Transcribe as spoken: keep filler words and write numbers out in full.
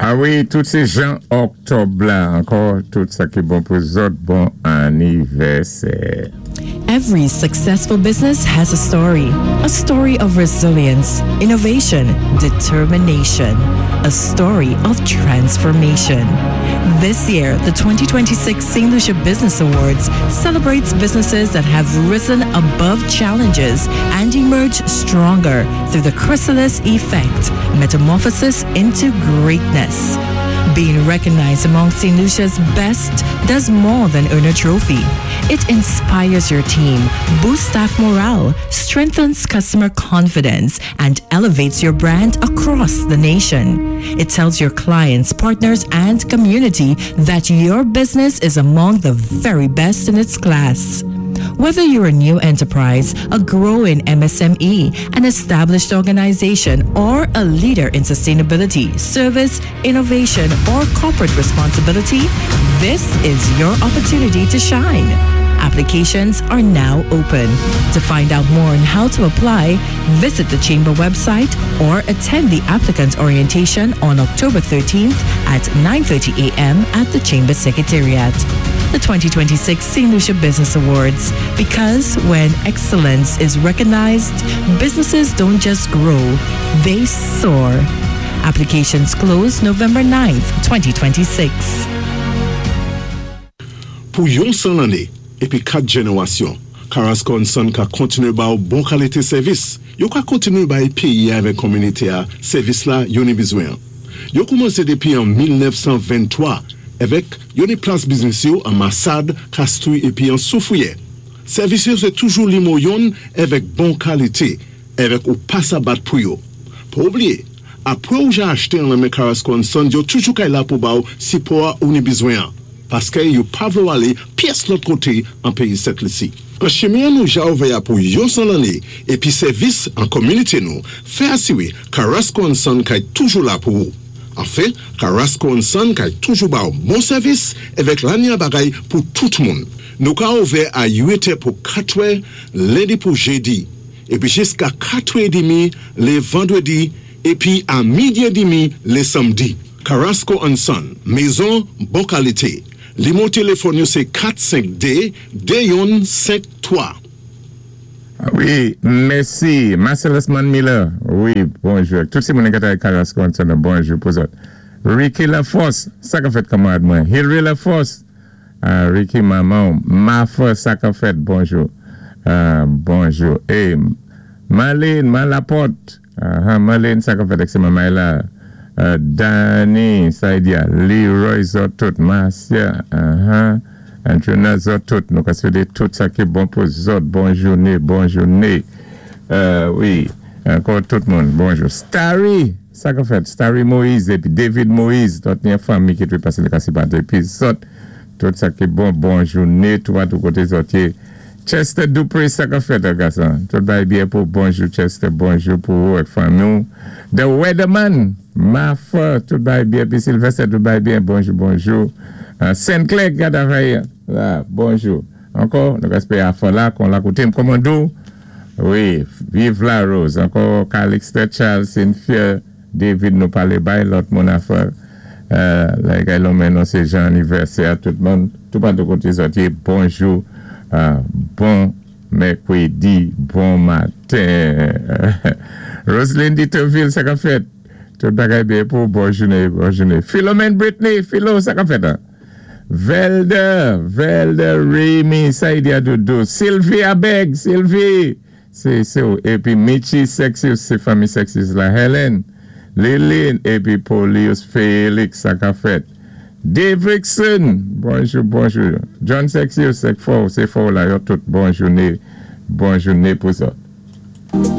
A wi, tout sé jan Oktòb la, ankò, tout sa ki bon pou zòt, bon anivèsè. Every successful business has a story. A story of resilience, innovation, determination. A story of transformation. This year, the twenty twenty-six Saint Lucia Business Awards celebrates businesses that have risen above challenges and emerged stronger through the chrysalis effect, metamorphosis into greatness. Being recognized among Saint Lucia's best does more than earn a trophy. It inspires your team, boosts staff morale, strengthens customer confidence, and elevates your brand across the nation. It tells your clients, partners, and community that your business is among the very best in its class. Whether you're a new enterprise, a growing M S M E, an established organization, or a leader in sustainability, service, innovation, or corporate responsibility, this is your opportunity to shine. Applications are now open. To find out more on how to apply, visit the Chamber website or attend the applicant orientation on October thirteenth at nine thirty a m at the Chamber Secretariat. The twenty twenty-six Saint Lucia Business Awards. Because when excellence is recognized, businesses don't just grow, they soar. Applications close November ninth, twenty twenty-six. Pou yon san lanné, épi kat jénéwasyon, Carrasco and Son ka kontiné ba ou bon kalité sèvis. Yo ka kontiné bay péyi avèk kominité a sèvis la yo ni bizwen. Yo koumansé dépi an mil nèf san venntwa avèk yo ni plas biznis yo an Massade, Castries épi an Soufrière. Sèvis yo sé toujou nimewo youn avèk bon kalité, avèk ou pa sa bat pou yo. Pa oubliyé, apwé ou ja achté an men Carrasco and Son, yo toujou kay la pou ba ou sipò ou ni bizwen an. Paské yo pa vlé ou alé pyès lòt koté an péyi Sent Lisi. An chimen nou ja ouvè a pou yon san lanné, épi sèvis an kominité nou, fè asiwé Carrasco and Son kay toujou la pou ou. Anfen, Carrasco and Son kay toujou ba ou bon sèvis avèk lanya bagay pou tout moun. Nou ka ouvè a uit è pou katwè, lendi pou jédi, épi jiska katwè édmi lé vandwédi, épi a midi édmi lé sanmdi. Carrasco and Son, mézon bon kalité. Nimewo téléfòn yo sé kat senk dé de youn senk twa. A wi, mèsi. Marcellus Miller. Wi, bonjou. Tout sé moun ki Carrasco and Son, bonjou pou zòt. Ricky Laforce, sa ka fèt, kanmarad mwen. Hilary Laforce, uh, Ricky manman, Mafa, sa ka fèt, bonjou. Uh, bonjou. Eh, Marlene, Malaporte, uh, Marlene, sa ka fèt, sé manmay la. Uh, Danny, Saidia, Leroy zòt tout, Marcia, uh-huh. Anjuna zòt tout, nou ka swété tout sa ki bon pou zòt, bon jouné, bon jouné. Uh, wi, ankò tout moun, bonjou. Starry, sa ka fèt, Starry Moïse, épi David Moïse, tout ni fanmi ki té pasé lé Kasipante, épi zòt, tout sa ki bon, bon jouné, tout tout koté zòt yé. Chester Dupré, sa ka fèt, gason. Tout bay byen pou bonjou Chester, bonjou pou ou ak fanmi. The Weatherman, Mafa, tout bay byen, pi Sylvester, tout bay byen, bonjou, bonjou. Uh, Saint-Clair, Gadavaya, la, bonjou. Ankò, nou respè a la, kon la koté commando. Wi, vive la Rose. Ankò, Calixte Charles, Cynthia, David, nou palé bay lòt moun afè. Euh, la kay non sé jan anivèsè tout moun, tout pa de koté zòt, bonjou. Uh, bon mèkwédi, bon maten. Roselyne Ditterville, sa ka fèt? Tout bagay byen pou bon jouné, bon jouné. Philomène Britney, Philo, sa ka fèt, hein? Velder, Velder Rémy, Saïdia Doudou, Sylvia Beg, Sylvie, sé sé épi Michi Sexus, sé fanmi Sexus la, Helen, Lilin, épi Polius Félix, sa ka fèt. Dave Rickson, bonjou, bonjou. John Sexius, sé fò, sé fò la, yo tout bon jouné, bon jouné pou sa.